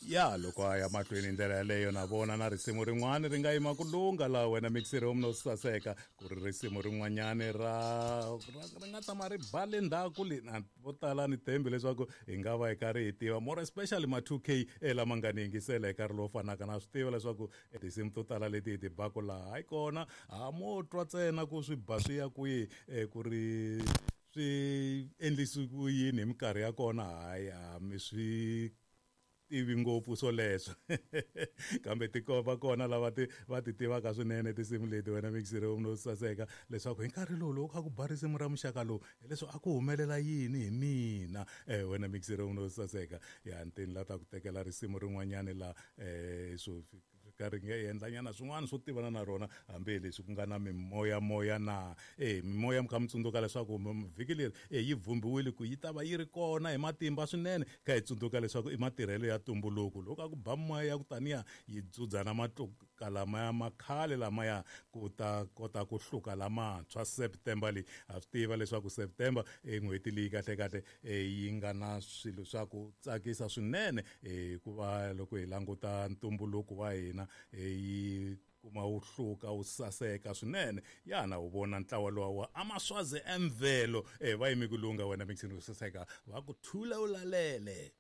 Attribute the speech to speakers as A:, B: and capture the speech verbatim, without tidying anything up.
A: Ya loko a ya mahlweni hi ndlela yaleyo, na vona na risimu rin'wana ri nga yima ku lungha laha wena mixere wo saseka, ku ri risimu rin'wanyani ra ri nga tama ri ba le ndzhaku le na vo tala ni thembi leswaku hi nga va hi karhi hi tiva, more especially ma two K lama nga ni yingisela hi nkarhi lowu fanaka. Na swi tiva leswaku tinsimu to tala leti hi ti baku laha hayi kona ha mo twa ntsena ku swi ba swi ya kwihi, ku ri swi endlisi ku yini hi minkarhi ya kona, hayi a mi swi tivi ngopfu swoleswo. Kambe ti va kona lava ti va ti tivaka swinene tinsimu leti wena mixere wo saseka, leswaku hi nkarhi lowu loko kha ku ba risimu ra muxaka lowu hileswi a ku humelela yini hi mina. um wena mixere wo saseka, ya ntini la ta ku tekela risimu rin'wanyani la um swo ka ri nga endlanyana swin'wana swo tivana na rona, hambi leswi ku nga na mimoyamoya na e mimoya. Mi kha mi tsundzuka leswaku vhiki leri e yi vhumbiwile ku yi ta va yi ri kona hi matimba swinene, kha hi tsundzuka leswaku i matirhelo ya ntumbuluko. Loko a ku ba moya ya ku taniya yi dzudza na matluka lamaya ma khale lamaya ku ta kota ku hluka lamantshwa September leyi. Ha swi tiva leswaku September i n'hweti leyi kahlekahle yi nga na swilo swa ku tsakisa swinene, hikuva loko hi languta ntumbuluko wa hina yi kuma wu hluka wu saseka swinene. Yana wu vona ntlawa lowa wa Amaswazi Emvelo, eh va yime ku lungha wena mixini wo saseka, va ku thula u lalele.